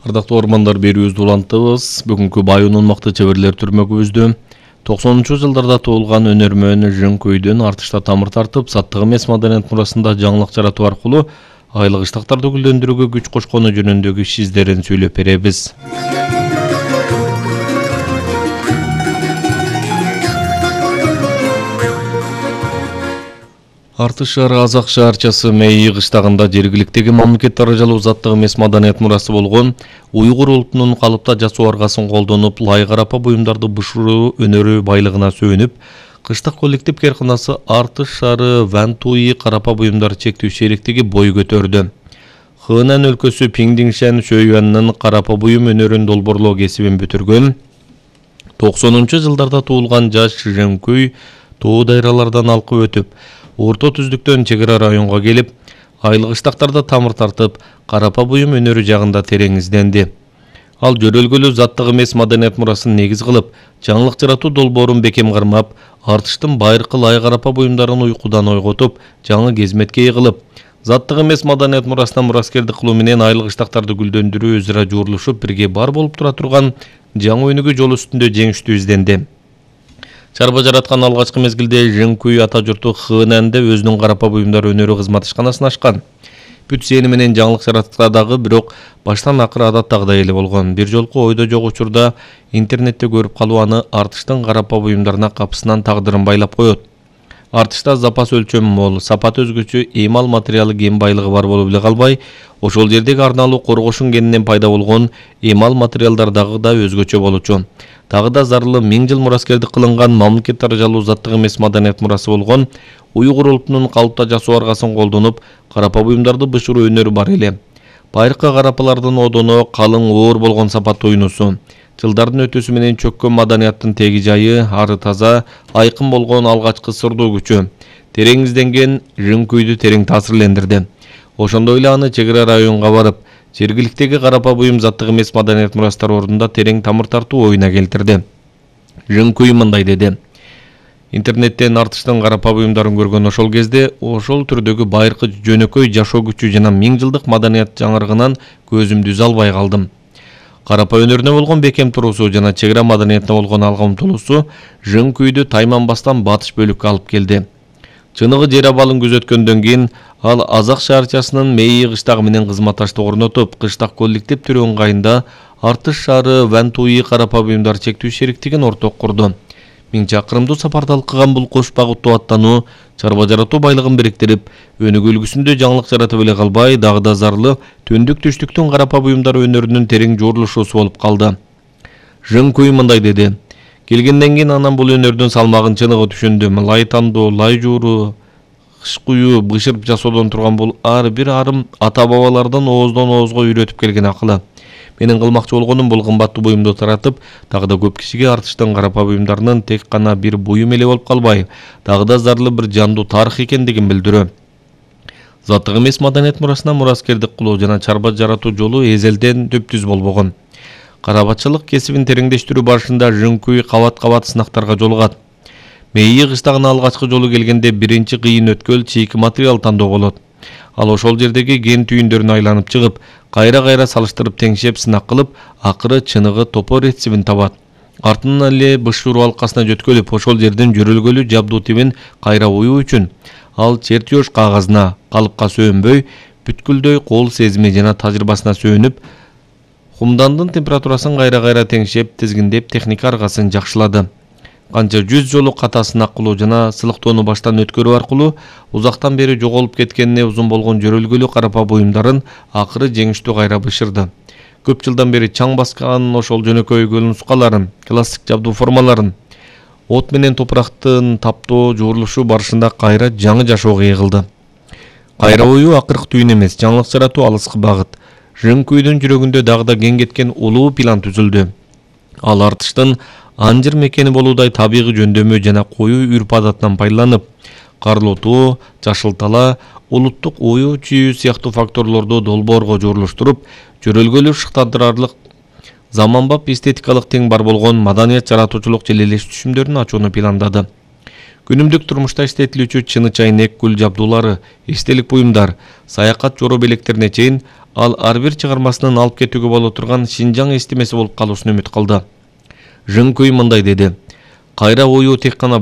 Ардактуу ормандар берүүбүздү улантабыз. Бүгүнкү Байуунун мыкты чеберлер түрмөгүбүздө 90-жылдарда туулган өнөрмөн Жөнкөйдөн артышта тамыр тартып, саттык эмес маданият мурасында жаңылык жаратуу аркылуу айлык ыштактарды гүлдөндүрүүгө күч кошкону жөнүндөгү иш издерин сүйлөп беребиз. Артыш шаары Азак шаарчасы Мейи кыштагында жергиликтеги мамлекет даражалуу заттык эмес маданият мурасы болгон уйгур улутунун калыпта жасоо аргасын колдонуп, лай карапа буюмдарды бышыруу өнөрү байлыгына сөөнүп, кыштык коллектив кээрканасы Артыш шаары Вантуи карапа буюмдар чектүү шериктиги бой көтөрдү. Хынан өлкөсү Пиңдиңшен Шөйюаннын карапа буюм өнөрүн долбоорлоо кесибин бүтүргөн 90-жылдарда туулган жаш Жөнкөй тоо дайралардан алкып өтүп, орто түздүктөн чек ара районго келип, айлык ыштактарда тамыр тартып, карапа буюм өнөрү жагында терең изденди. Ал жөрөлгөлүү заттык эмес маданият мурасын негиз кылып, жаңылык жаратуу долбоорун бекем кармап, артыштын байыркы лай карапа буюмдарын уйкудан ойготуп, жаңы кезметке кылып, заттык эмес маданият мурасына мураскердик кылуу менен айлык ыштактарды гүлдөндүрүү өзара жуурулушуп, бирге бар болуп тура турган жаңы өнүгүү жолу үстүндө жеңиштүү изденди. Чарба жараткан алгачкы мезгилде Жөнкөй ата журту Хынанде өзүнүн карапа буюмдар өнөрү кызмат ишканасын ачкан. Бүт сени менен жаңылык жараткандагы бирок баштан акыры адаттагыдай эле болгон. Бир жолку ойдо жок учурда интернетте көрүп калуу аны Артыштын карапа буюмдарына капысынан тагдырын байлап коет. Артышта запас өлчөмү мол, сапаты өзгөчө эмал материалы кен байлыгы бар болуп эле калбай, ошол жердеги арналуу коргошун кенинен пайда болгон эмал материалдар дагы да өзгөчө болчу. Дагы да зарлы 1000 жыл мураскердик кылынган мамлекет даражалуу заттык эмес маданият мурасы болгон уйгур улутунун калыпта жасоо аргасын колдонуп, карапа буюмдарды бышыруу өнөрү бар эле. Байыркы карапалардын одоно калың оор болгон сапат уйнусу. Жылдардын өтүүсү менен чөккөн маданияттын теги жайы, ары таза, айкын болгон алгачкы сырдуу күчү. Терең изденген Жөнкөйдү терең таасирлендирди. Ошондой эле аны чек ара районго барып, жергиликтеги карапа буюм заттык эмес маданият мурастар ордунда терең тамыр тартуу оюна келтирди. Жөнкөй мындай деди. Интернеттен Артыштын карапа буюмдарын көргөн ошол кезде ошол түрдөгү байыркы жөнөкөй жашоо күчү жана 1000 жылдык маданият жаңырыгынан көзүмдү үзө албай калдым. Карапа өнөрүнө болгон бекем туруусу жана чек ара маданиятына болгон алга умтулуусу Жөнкөйдү Тайманбастан батыш бөлүккө алып келди. Чыныгы жер абалын күзөткөндөн кийин ал Азак шаарчасынын Мейи кыштагы менен кызматташтык орнотуп, кыштак коллектив түрү ыңгайында Артыш шаары Вантуи карапа буюмдар чектүү шериктигин орток курду. 1000 чакырымдуу сапарды алкыган бул кош багыттуу аттануу чарба жаратуу байлыгын бириктирип, өнүгүү үлгүсүндө жаңылык жаратып эле калбай, дагы да зарлы төндүк түштүктүн карапа буюмдар өнөрүнүн терең жуурулушуусу болуп калды. Жөнкөй мындай деди. Келгенден кийин анан бул өнөрдүн салмагын чыныгы түшүндүм. Лай тандоо, лай жууруу, кыш куюу, бышырып жасоодон турган бул ар бир арым ата бабалардан ооздон оозго үйрөтүп келген акылы. Менин кылмакчы болгонум бул кымбаттуу буюмду таратып, дагы да көп кишиге Артыштын карапа буюмдарынын тек гана бир буюм эле болуп калбай, дагы да зарлы бир жандуу тарых экендигин билдирүү. Заттык эмес маданият мурасына мураскердик кылуу жана чарба жаратуу жолу эзелден төптүз болбогон. Карапатчылык кесибин тереңдештирүү барышында Жөнкөй кабат-кабат сынактарга жолугат. Мейи кыштагына алгачкы жолу келгенде биринчи кыйын өткөл чийки материал тандоо болот. Ал ошол жердеги кен түйүндөрүн айланып чыгып, кайра-кайра салыштырып теңшеп сынак кылып, акыры чыныгы топор рецебин табат. Артынан эле бышыруу алкасына жөткөлүп, ошол жердин жөрөлгөлүү жабдуу тибин кайра оюу үчүн ал чертеж кагазына, калыпка сөөнбөй, бүткүлдөй кол сезими жана тажрыйбасына сөөнүп, хумдандын температурасын кайра-кайра теңшеп, тизгиндеп техника аргасын жакшылады. Канча 100 жолу ката сынак кылуу жана сылыктоону баштан өткөрүү аркылуу узактан бери жоголуп кеткенине узун болгон жөрөлгөлүү карапа буюмдарын акыры жеңиштүү кайра бышырды. Көп жылдан бери чаң баскан ошол жөнөкөй көл нускаларын, классик жабдуу формаларын, от менен топурактын таптоо жуурулушу барышында кайра жаңы жашоого эгилди. Кайра оюу акыркы түйүн эмес, жаңылык жаратуу алыскы багыт. Жөнкөйдүн жүрөгүндө дагы да кең кеткен улуу план түзүлдү. Ал Артыштын анжыр мекени болуудай табигый жөндөмү жана коюу үрп адатынан пайдаланып, карлотуу, жашылтала, улуттук оюу-чүйүү сыяктуу факторлорду долбоорго жуурулуштуруп, жөрөлгөлүү шыктандырарлык заманбап эстетикалык тең бар болгон маданият жаратуучулук желелеш түшүмдөрүн ачууну пландады. Күнүмдүк турмушта иштетилүүчү чыны чайнек, гүл жабдуулары, эстелик буюмдар, саякат жоро белектерине чейин ал ар бир чыгармасынын алып кетүүгө боло турган Шинжаң эстемеси болуп калуусун үмүт кылды. Жыңкүй мындай деди: Кайра ою тек гана